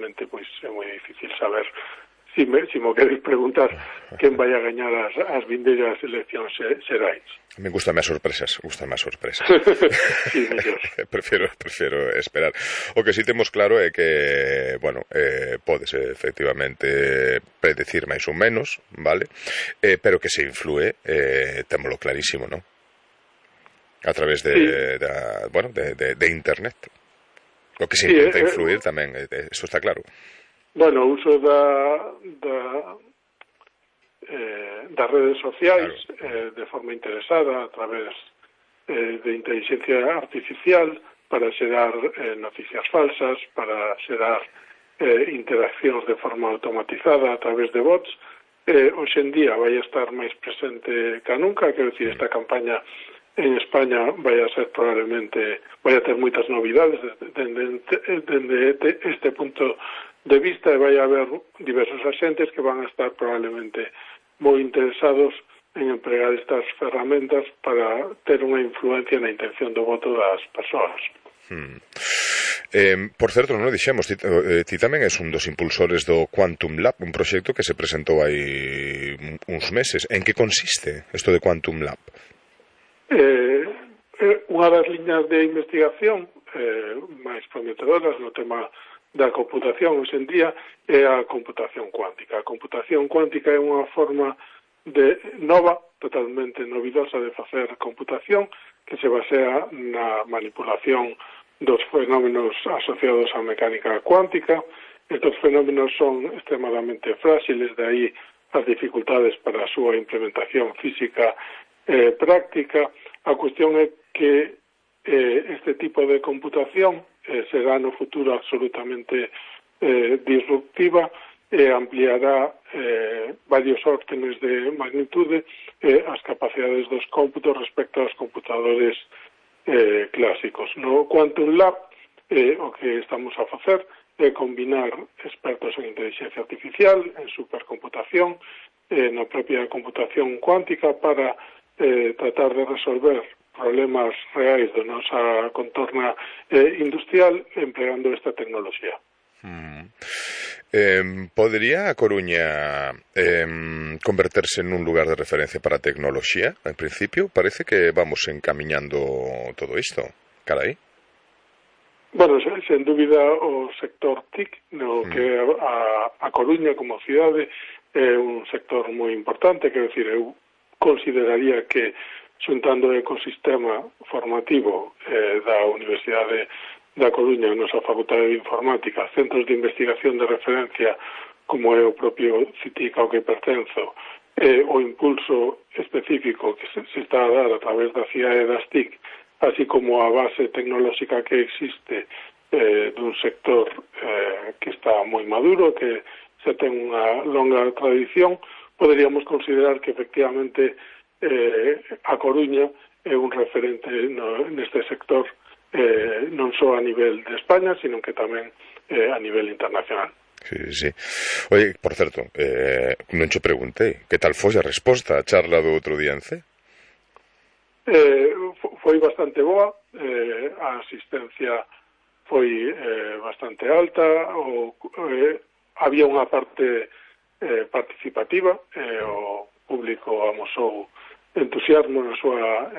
realmente pois é moi difícil saber. Si me queres preguntar quen vai a gañar as vindeiras eleccións xerais. Me gustan as sorpresas. Sí, mellor. Prefiro esperar. O que si temos claro é que, bueno, podes efectivamente predecir máis ou menos, vale? Pero que se influe, témolo clarísimo, non? A través de internet. O que se intenta influir tamén, eso está claro. Bueno, o uso das redes sociais, claro, de forma interesada a través de inteligencia artificial para xerar noticias falsas, para xerar interaccións de forma automatizada a través de bots. Hoxe en día vai a estar máis presente que nunca, quero dicir, esta campaña en España vai a ser probablemente, vai a ter moitas novidades dende este punto de vista, e vai haber diversos axentes que van a estar probablemente moi interesados en empregar estas ferramentas para ter unha influencia na intención do voto das persoas. Por certo, non o dixemos, ti tamén és un dos impulsores do Quantum Lab, un proxecto que se presentou hai uns meses. En que consiste isto de Quantum Lab? Unha das liñas de investigación máis prometedoras no tema da computación hoxe en día é a computación cuántica. A computación cuántica é unha forma nova, totalmente novidosa de facer computación, que se basea na manipulación dos fenómenos asociados á mecánica cuántica. Estos fenómenos son extremadamente frágiles, de aí as dificultades para a súa implementación física práctica. A cuestión é que este tipo de computación será no futuro absolutamente disruptiva e ampliará varios órdenes de magnitude as capacidades dos cómputos respecto aos computadores clásicos. No Quantum Lab o que estamos a facer é combinar expertos en inteligencia artificial, en supercomputación, na propia computación cuántica para tratar de resolver problemas reais da nosa contorna industrial empregando esta tecnoloxía. Podería a Coruña converterse nun lugar de referencia para a tecnoloxía? En principio, parece que vamos encamiñando todo isto. Carai. Bueno, sen dúbida o sector TIC, no que a Coruña como cidade é un sector moi importante, quero dicir, eu consideraría que xuntando o ecosistema formativo da Universidade da Coruña, a nosa Facultade de Informática, centros de investigación de referencia como é o propio CITIC ao que pertenzo, o impulso específico que se está a dar a través da CIAE e das TIC, así como a base tecnolóxica que existe dun sector que está moi maduro, que se ten unha longa tradición, poderíamos considerar que efectivamente a Coruña é un referente neste sector non só a nivel de España, sino que tamén a nivel internacional. Sí. Oye, por certo, non che preguntei, que tal foi a resposta á charla do outro día en C? Foi bastante boa, a asistencia foi bastante alta, había unha parte participativa, o público amosou entusiasmo na súa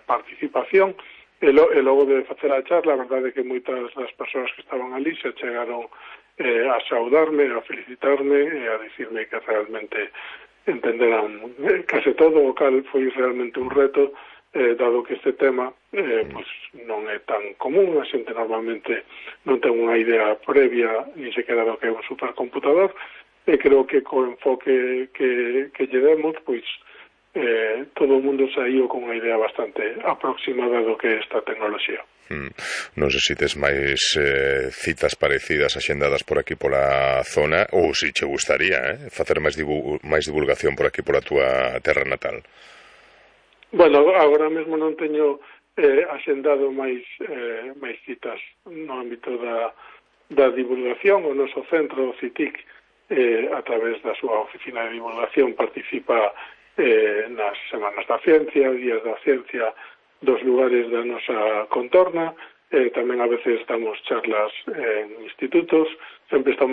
participación, e logo de facer a charla, a verdade é que moitas das persoas que estaban ali se chegaron a saudarme, a felicitarme e a dicirme que realmente entenderan case todo, o cal foi realmente un reto, dado que este tema pues non é tan común, a xente normalmente non ten unha idea previa ni sequera do que é un supercomputador, e creo que co enfoque que lle demos, pois todo o mundo saiu con unha idea bastante aproximada do que é esta tecnoloxía. Non sei se tes máis citas parecidas axendadas por aquí pola zona, ou se che gustaría facer máis divulgación por aquí pola túa terra natal. Bueno, agora mesmo non teño axendado máis citas no ámbito da divulgación. O noso centro, o CITIC, a través da súa oficina de divulgación, participa nas Semanas da Ciencia, Días da Ciencia dos lugares da nosa contorna, tamén a veces damos charlas en institutos, sempre estamos